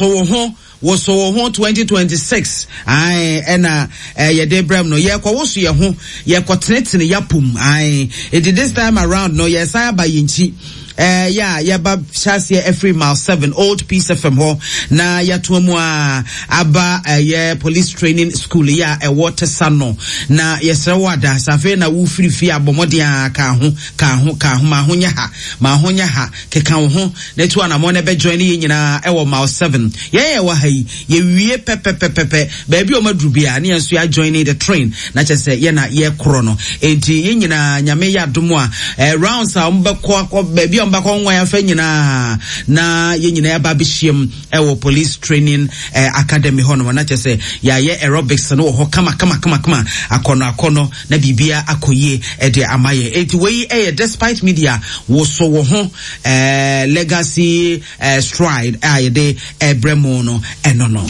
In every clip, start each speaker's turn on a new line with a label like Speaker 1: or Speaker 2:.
Speaker 1: Woso wo ho, woso wo ho 2026 ae ɛna eh, yɛde brɛ mu no yɛkɔ woso yɛ ho, yɛkɔ tenetene yapom ae. Enti this time around no yɛsan aba yɛn eh, yɛ a yɛba hyɛ aseɛ afiri mile 7 Old Peace FM hɔ na yɛatoa mu a aba ɛyɛ eh, police training school yɛ a ɛwɔ Tesa no na yɛsrɛ wo ada sɛ afei na wofiri fie abɔ mmɔden a ka ho ka ho ka ho ma ho nyɛ ha ma ho nyɛ ha Keka wo ho na tu anamɔn na bɛ join yɛn nyinaa ɛwɔ mile 7. Yɛn yɛ wɔ ha yi, yɛwie pɛpɛpɛpɛpɛ. Baabi a wɔn aduru biara ne yɛn nso yɛ join the train na kyerɛ sɛ yɛn na yɛkorɔ no. Enti yɛn nyinaa Nyame yɛ adom a, eh, rounds a wɔn bɛkɔ akɔ baabi a wɔn bɛkɔ nwan afa nyinaa na yɛn nyinaa yɛaba abɛhyiam ɛwɔ police training eh, academy hɔ nom na kyerɛ sɛ yɛayɛ aerobics no wɔ hɔ kama kama kama kama akɔnɔ akɔnɔ na biribia akɔ yie de ama yɛn. Enti wei yɛ Despite Media woso wo ho eh, legacy eh, stride a yɛde ɛbrɛ mu no ɛno no.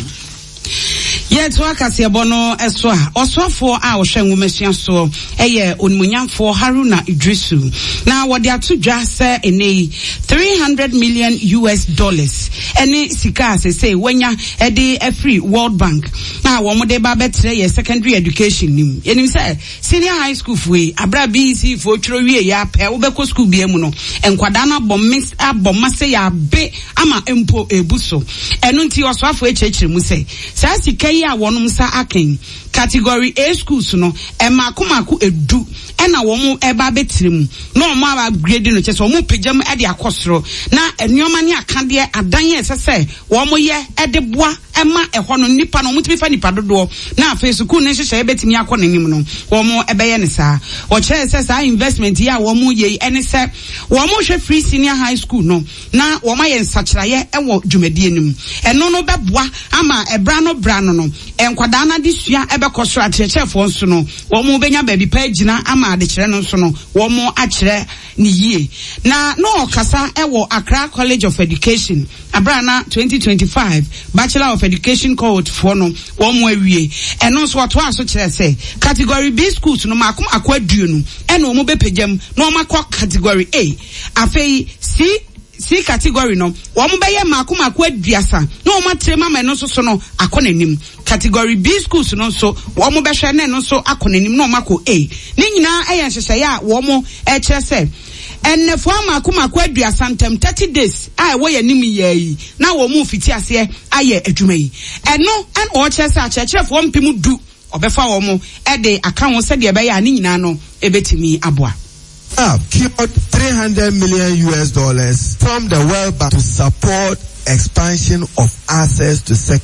Speaker 2: Yɛtoa kaseɛbɔ no so a, ɔsoafoɔ a ɔhwɛ nwomasua soɔ yɛ Onimuonyamfoɔ Haruna Iddrisu, na wɔde ato dwa sɛ ɛnnɛ yi 300 million US dollars ne sika a sesei wanya de afiri World Bank a wɔn de ba abɛtrɛ yɛ secondary education no mu. Yɛnim sɛ senior high school foɔ yi, abere a BEC foɔ twerɛ wie yɛ apɛ, wobɛkɔ school bia mu no, nkwadaa no abɔ me abɔ ma sɛ yɛabe ama mpo ebu so. Ɛno nti ɔsoafoɔ akyerɛkyerɛ mu sɛ saa sika yi a wɔn nsa aka yi, category A schools no, mmaako mmaako edu ɛna wɔn ɛba abɛtire mu na wɔn a upgrade no, kyerɛ sɛ wɔn pagya mu de akɔ soro na nneɛma ne akadeɛ adan a ɛsɛ sɛ wɔn yɛ de boa ɛma ɛhɔ no nnipa no wɔtumi fa nnipa dodoɔ na afei sukuu no nhyehyɛeɛ bɛtumi akɔ n'anim no, wɔbɛyɛ no saa. Wɔkyerɛɛ sɛ saa investment yi a wɔyɛ yi ɛne sɛ wɔrehwɛ free senior high school no na wɔayɛ nsakyeraeɛ wɔ dwumadie no mu. Ɛno no bɛboa ama ɛberɛ ano berɛ ano no nkwadaa no adesua bɛkɔ soro, akyerɛkyerɛfoɔ nso no wɔbɛnya baabi pa agyina ama adekyerɛ no nso no wɔakyerɛ no yie. Na na ɔrekasa wɔ Accra College of Education Bere a na 2025 Bachelor of Education cohort foɔ no wɔn awie. Ɛno nso ɔtoaa so kyerɛɛ sɛ Category B schools no mmaako mmaako aduonu na wɔn bɛpagya mu na wɔn akɔ Category A. Afei C C category no wɔn bɛyɛ mmaako mmaako aduasa na wɔn atrɛ mu ama ɛno nso so no akɔ n'anim. Category B schools no nso wɔn bɛhwɛ na ɛno nso akɔ n'anim na wɔn akɔ A. Ne nyinaa yɛ nhyehyɛeɛ a wɔn rekyerɛ sɛ Nnafua mmaako mmaako aduasa ntam, 30 days, a ɛwɔ yɛn anim yi ara yi na wɔrefiti aseɛ ayɛ adwuma yi. Ɛno na wɔkyerɛ sɛ akyerɛkyerɛfoɔ mpem du wɔbɛfa wɔn de aka ho sɛdeɛ ɛbɛyɛ a ne nyinaa no bɛtumi aboa.
Speaker 3: Have cured 300 million US dollars from the World Bank to support expansion of access to secondary.